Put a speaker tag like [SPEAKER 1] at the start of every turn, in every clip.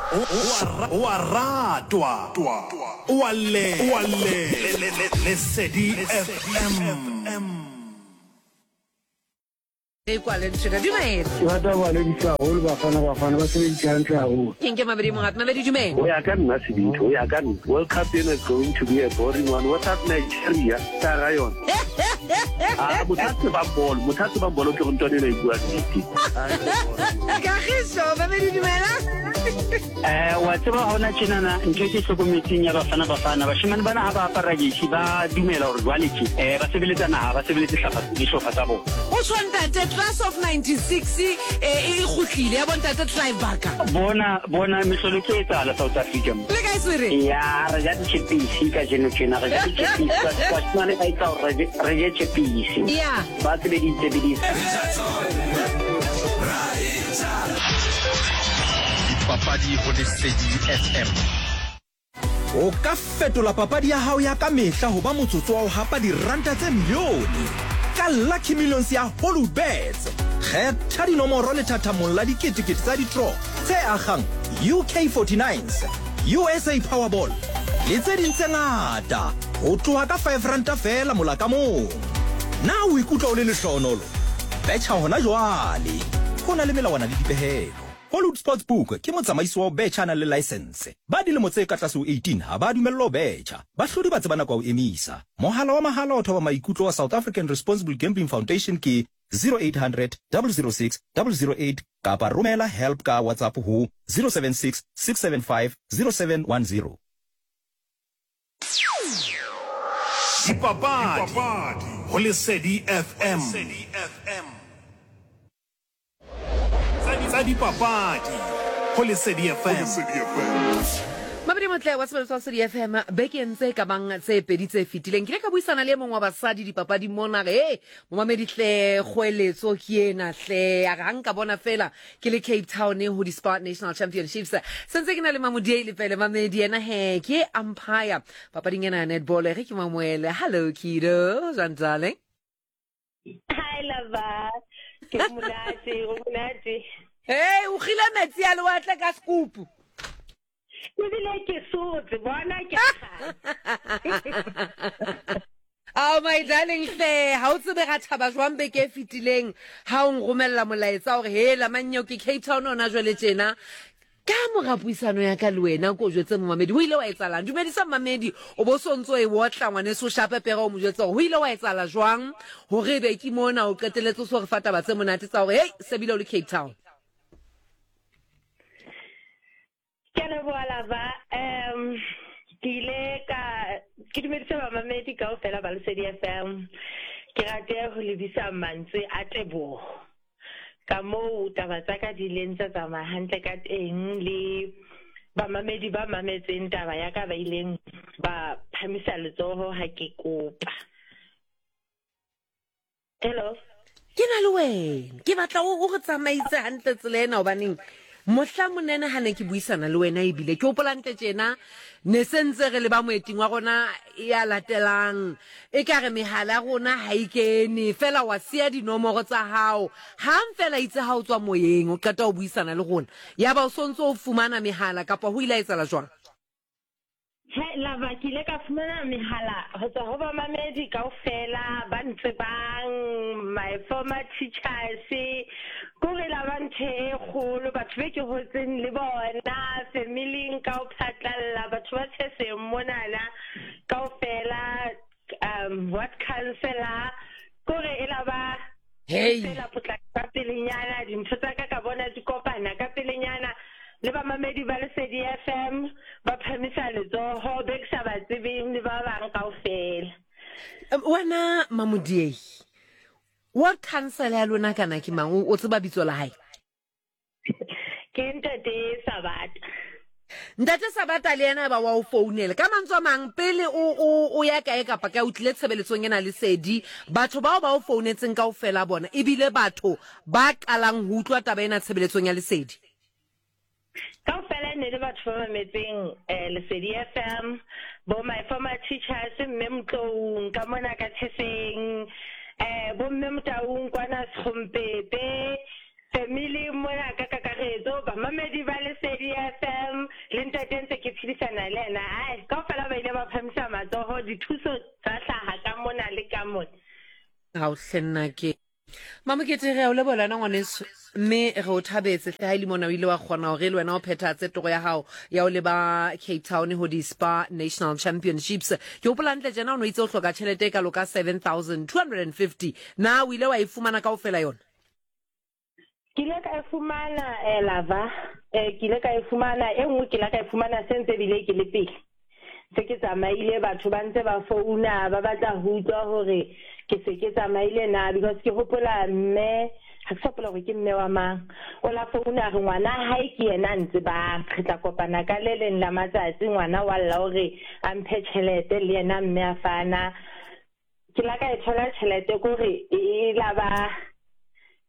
[SPEAKER 1] O a ratwa, o a llelwa. Lesedi FM.
[SPEAKER 2] E kwale ntšheka dumela.
[SPEAKER 3] Ke rata go ba lebisa haholo Bafana Bafana ba sebeditse hantle haholo.
[SPEAKER 2] Ke nke mabedi mongat mabedi dumela.
[SPEAKER 4] Ho ya ka nna sebete, ho ya ka nna World Cup ena is going to be a boring one without Nigeria ka hara yona. Ah, motho a tsebang bolo, motho a tsebang bolo ke go ntwana ena e bua nnete.
[SPEAKER 2] Kagiso mabedi dumela.
[SPEAKER 5] Eh, wa tseba hona tjenana ntho e ke hlokometseng ya Bafana Bafana, bashemane bana ha ba apara jersey ba dumela hore jwale tje eh, ba sebeletsa naha, ba sebeletse hlapha dihlopha tsa bona.
[SPEAKER 2] Go tjho ntate class of 96 eh, e kgutlile ya bontate Clive Barker.
[SPEAKER 5] Bona bona mehlolo e tlo etsahala South Africa mo.
[SPEAKER 2] Le kae Swere?
[SPEAKER 5] Ya re ja ditšhepisi kajeno tjena re ja ditšhepisi bashemane ba etsa hore re je tšhepisi.
[SPEAKER 2] Ya.
[SPEAKER 5] Ba sebeditse beditse.
[SPEAKER 6] Dipapadi go Lesedi FM.
[SPEAKER 7] O ka fetola papadi ya hao ya ka mehla ho ba motsotso wa ho hapa diranta tse milione ka Lucky Millions ya Hollywoodbets. Kgetha dinomoro lethathamong la diketekete tsa ditro tse akgang UK 49s, USA Powerball le tse ding tse ngata ho tloha ka five ranta feela mola ka mong. Na o ikutlwa o le lehlohonolo? Betjha hona jwale! Ho na le melawana le dipehelo. Hollywood Sportsbook ke motsamaisi wa ho betjha a nang le laesense. Ba dilemo tse ka tlase ho 18 ha ba dumellwa ho betjha. Bahlodi ba tseba nako ya ho emisa. Mohala wa mahala wa thoba maikutlo wa South African Responsible Gambling Foundation ke 0800 006 008 kapa romela help ka WhatsApp ho 076 675 0710.
[SPEAKER 1] Dipapadi go Lesedi FM. Tsa dipapadi go Lesedi FM.
[SPEAKER 2] Mabedi motle wa sebele sa Lesedi FM bekeng tse ka bang tse pedi tse fetileng ke ile ka buisana le e mongwe wa basadi dipapading mona re hey momamedi hle kgoeletso ke ena hle a re ha nka bona fela ke le Cape Town ho di Spar National Championships sentse ke na le Mamodiei Lepele mamedi yena he ke umpire papading ena ya netball ge ke mamoele hello kido jwang darling.
[SPEAKER 8] Hi lava ke monate o monate.
[SPEAKER 2] Hey o kgile metsi a lewatle ka sekupu.
[SPEAKER 8] Ebile ke sotse bona ke
[SPEAKER 2] Ao my darling hle ha o tsebe ra thaba jwang beke e fetileng ha o nromella molaetsa hore hela mannyo ke Cape Town ona jwale tjena ka mora puisano ya ka le wena ko jwetse momamedi ho ile wa etsalang dumedisa momamedi o bo so ntso e otla ngwaneso o shape pere o mo jwetse hore ho ile wa etsala jwang hore ebe ke mona o qeteletse o so re fa taba tse monate tsa hore hei se bile o le Cape Town.
[SPEAKER 8] Ke a leboha Lava. Um ke ile ka ke dumedise bamamedi kaofela ba Lesedi FM. Ke rate ho lebisa mantswe a teboho ka moo taba tsa ka di ileng tsa tsamaya hantle ka teng le bamamedi ba mametseng taba ya ka ba ileng ba phamisa letsoho ha ke kopa. Hello.
[SPEAKER 2] Ke na le wena. Ke batla o re tsamaise hantle tsela ena hobaneng mohla monene ha ne ke buisana le wena ebile ke hopola ntle tjena ne se ntse re le ba moeting wa rona ya latelang e ka re mehala ya rona ha e kene fela wa siya dinomoro tsa hao hang fela itse ha o tswa moyeng o qeta ho buisana le rona ya ba o sontso o fumana mehala kapa ho ile ha etsahala jwang?
[SPEAKER 8] He, Lava, ke ile ka fumana mehala ho tswa ho bamamedi kaofela ba ntsebang, my former teachers, kore la ba ntho e kgolo, batho be ke hotseng le bona, familing ka ho phatlalla, batho ba tsheseng monana kaofela, um, ward councillor, kore e la ba
[SPEAKER 2] Hey.
[SPEAKER 8] Fela potlaka ka pelenyana, dintho tsa ka ka bona di kopana ka pelenyana le bamamedi ba Lesedi FM ba phamisa letsoho be ke sa ba tsebeng le ba bang kaofela.
[SPEAKER 2] Wena Mamodiei, ward councillor ya lona kana ke mang? O tseba bitso la hae?
[SPEAKER 8] Ke Ntate Sabata.
[SPEAKER 2] Ntate Sabata le yena ba wa o founela. Ka mantswe a mang, pele o, o, o ya kae kapa kae, o tlile tshebeletsong ena Lesedi, batho bao ba o founetseng kaofela bona ebile batho ba qalang ho utlwa taba ena tshebeletsong ya Lesedi.
[SPEAKER 8] Kaofela e ne le batho ba mametseng eh, Lesedi FM, bo my former teachers, Mme Motloung ka mona ka Theseng, eh, bo Mme Motaung kwana Sekgompepe, Family mona ka kakaretso, bamamedi ba Lesedi FM. Le ntate ntse ke phedisana le yena, ai kaofela ba ile ba phamisa matsoho, dithuso tsa hlaha ka mona le ka mona.
[SPEAKER 2] Ao hle nnake. Mamokete, re a o leboha le wena ngwaneso, mme re o thabetse hle ha e le mona o ile wa kgona hore le wena o phethahatse toro ya hao ya ho leba Cape Town ho di-Spar National Championships. Ke hopola hantle tjena o no itse o hloka tjhelete e kalo ka 7250. Na o ile wa e fumana kaofela yona?
[SPEAKER 8] Ke ile ka e fumana eh, lava eh, ke ile ka e fumana e nngwe ke ile ka e fumana se ntse bile ke le pele se ke tsamaile batho ba ntse ba founa ba batla ho utlwa hore ke se ke tsamaile na because ke hopola mme ha ke sa hopola hore ke mme wa mang o la founa re ngwana hae ke yena a ntsebang re tla kopana ka le leng la matsatsi ngwana wa lla hore a mphe tjhelete le yena mme a fana Ke la ka e thola tjhelete kore e la ba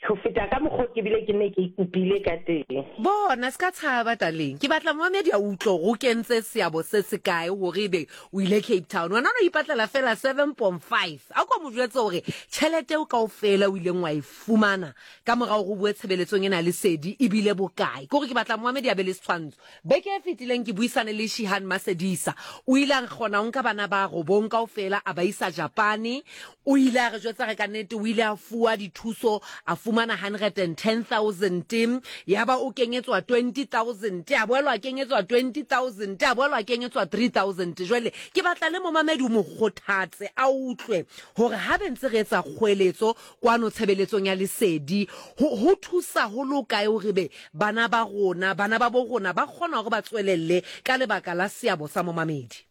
[SPEAKER 8] ho feta ka mokgwa ke bile ke ne ke ikopile ka teng.
[SPEAKER 2] Bona, se ka tshaba, darling. Ke batla momamedi a utlwe hore o kentse seabo se se kae hore ebe o ile Cape Town. Wena o no ipatlela fela 7.5. A ko mo jwetse hore tjhelete eo kaofela o ileng wa e fumana ka mora hore o bue tshebeletsong ena ya lesedi e bile bokae. Ke hore ke batla momamedi a be le setshwantsho. Beke e fetileng ke buisane le Shihan Masedisa. O ile a kgona ho nka bana ba robong kaofela a ba isa Japane. O ile a re jwetsa re ka nnete o ile a fuwa dithuso, a fumana 110,000, yaba o kenyetswa 20,000, a boelwa a kenyetswa 20,000, a boelwa a kenyetswa 3,000. Jwale ke batla le momamedi o mo kgothatse a utlwe hore ha be ntse re etsa kgoeletso kwano tshebeletsong ya lesedi, ho, ho thusa ho le hokae hore be bana ba rona, bana ba bo rona ba kgona hore ba tswelelle ka lebaka la seabo sa momamedi?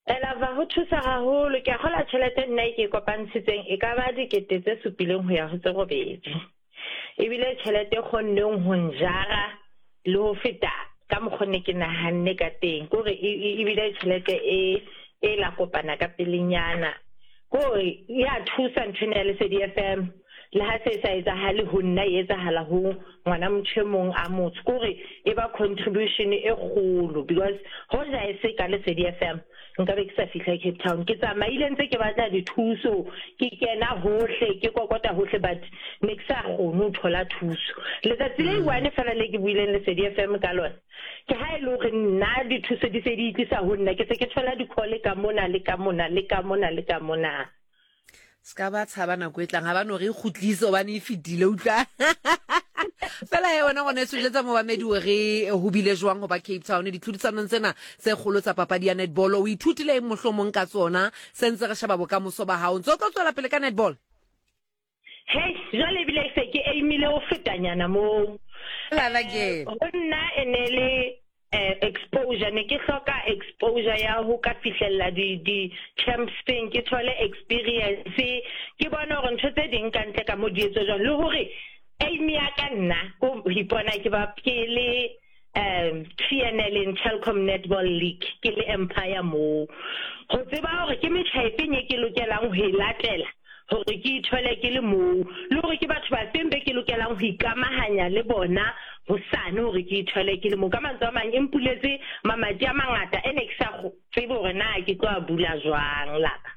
[SPEAKER 8] Elava, ho thusa haholo. Ke a kgola tjhelete nna e ke e kopantshitseng e ka ba 7000 ho ya ho tse 8. Ebile tjhelete e kgonneng ho njara le ho feta ka mokgo ne ke nahanne ka teng. Ke hore ebile tjhelete e e la kopana ka pelenyana. Ke hore ya thusa ntho ena ya Lesedi FM. Le ha se sa etsahale ho nna, e etsahala ho ngwana motho e mong a motsho. Ke hore e ba contribution e kgolo because hoja e se ka Lesedi FM nka be ke sa fihla Cape Town. Ke tsamaile ntse ke batla dithuso, ke kena hohle, ke kokota hohle, but ne ke sa kgone ho thola thuso. Letsatsi le one fela le ke buileng Lesedi FM ka lona, ke ha e le hore nna dithuso di se di itlisa ho nna, ke se ke thola di-call ka mona le ka mona le ka mona le ka mona.
[SPEAKER 2] Se ka ba tshaba nako e tlang, ga ba no re e kgutlise hobane e fetile, utlwa. Fela he wena ngwaneso, jwetsa momamedi hore ho bile jwang ho ba Cape Town ditlhodisanong tsena tse kgolo tsa papadi ya netball. O ithutile eng mohlomong ka tsona se ntse re sheba bokamoso ba hao? Ntse o tlo tswela pele ka netball?
[SPEAKER 8] Hei, jwale ebile se ke aimile ho fetanyana moo.
[SPEAKER 2] Lala ke.
[SPEAKER 8] Ho nna e ne le exposure, ne ke hloka exposure ya ho ka fihlella di di camps teng, ke thole experience, ke bone hore ntho tse ding ka ntle ka mo di etswa jwang, le hore aim ya ka nna ko ho ipona ke ba ke le um TNL in Telkom Netball League, ke le empire moo, ho tseba hore ke metjha efeng e ke lokelang ho e latela hore ke ithole ke le moo, le hore ke batho bafeng be ke lokelang ho ikamahanya le bona hosane hore ke ithole ke le moo. Ka mantswe a mang, e mpuletse mamati a mangata e ne ke sa tsebe hore na ke tlo a bula jwang lapa.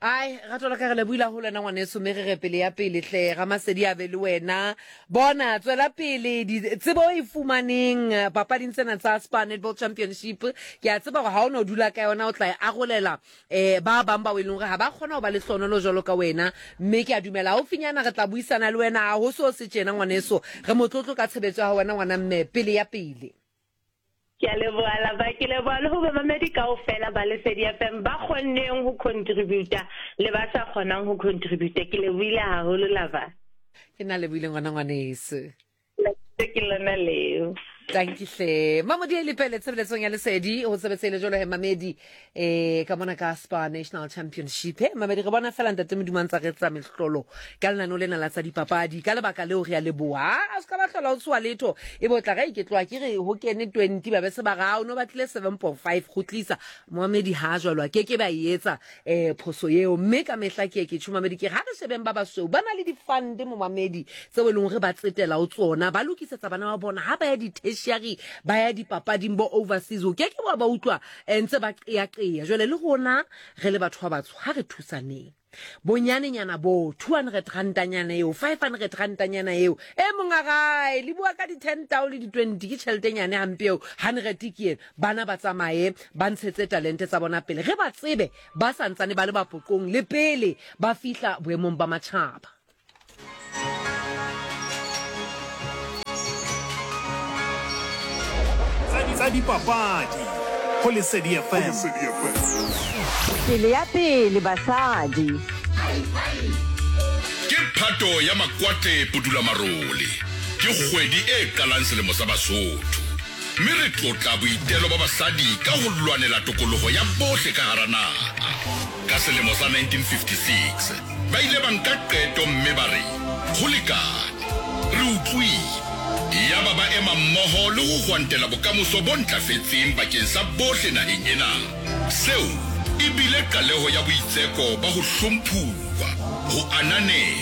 [SPEAKER 2] Ai, rato la ka re lebohile haholo wena ngwaneso, mme re re pele ya pele hle, Ramasedi a be le wena. Bona, tswela pele, tsebo e fumaneng papading tsena tsa Spar Netball Championship, ke a tseba hore ha o no dula ka yona o tla e arolela um ba bang bao e leng gore ga ba kgona go ba lehlonolo jalo ka wena, mme ke a dumela gaufinyana re tla buisana le wena. Ga go so se tjena ngwaneso, re motlotlo ka tshebetso ya gago wena ngwana mme, pele ya pele.
[SPEAKER 8] Ke a leboha Lava, ke leboha le ho bamamedi kaofela ba Lesedi FM ba kgonneng ho contributa le ba sa kgonang ho contributa. Ke lebohile haholo Lava.
[SPEAKER 2] Ke nna lebohile ngwana ngwaneso.
[SPEAKER 8] Ke lona leo.
[SPEAKER 2] Tanki hle. Mamodi e lepele tshebeletsong ya Lesedi ho sebetse le jwalo he mamedi eh ka mona ka Spar National Championship. He mamedi re bona fela ntate Modimo a ntsa re etsa mehlolo ka lenaneo lena la tsa dipapadi. Ka lebaka leo re a leboha. A se ka ba hlola o tshoha letho. E bo tla re ke tloha ke re ho kene 20 ba be se ba ra o no batlile 7.5 kgutlisa. Moamedi ha jwalo a ke ke ba e etsa eh phoso eo mme ka mehla ke ke tjho mamedi ke ha re shebeng ba basweu ba na le di-fund mo mamedi tseo e leng hore ba tsetela ho tsona, ba lokisetsa bana ba bona ha ba ya di-tertiary, ba ya dipapading bo overseas, o ke ke wa ba utlwa eh, ntse ba qeaqea. Jwale le rona re le batho ba batsho ha re thusaneng. Bonyanenyana boo, 200 rantanyana eo, 500 rantanyana eo, e mong a gae, le bua ka di-ten tao le di-twenty, ke tšheletenyane hampe eo, hundred ke ena. Bana ba tsamaye ba ntshetse talente tsa bona pele, ge ba tsebe ba sa ntsane ba le bapoqong le pele ba fihla boemong ba matšhaba.
[SPEAKER 1] Tsa dipapadi go Lesedi FM.
[SPEAKER 9] Pele ya pele basadi.
[SPEAKER 10] Ke Phato ya Makwate Pudulamarole. Ke kgwedi e qalang selemo sa Basotho. Mme re tlotla boitelo ba basadi ka ho lwanela tokoloho ya bohle ka hara naha. Ka selemo sa 1956, ba ile ba nka qeto mme ba re, Ho lekane. Re utlwile. Yaba ba ema mmoho le ho hwantela bokamoso bo ntlafetseng bakeng sa bohle naheng ena. Seo e bile qaleho ya boitseko ba ho hlomphuwa, ho ananelwa.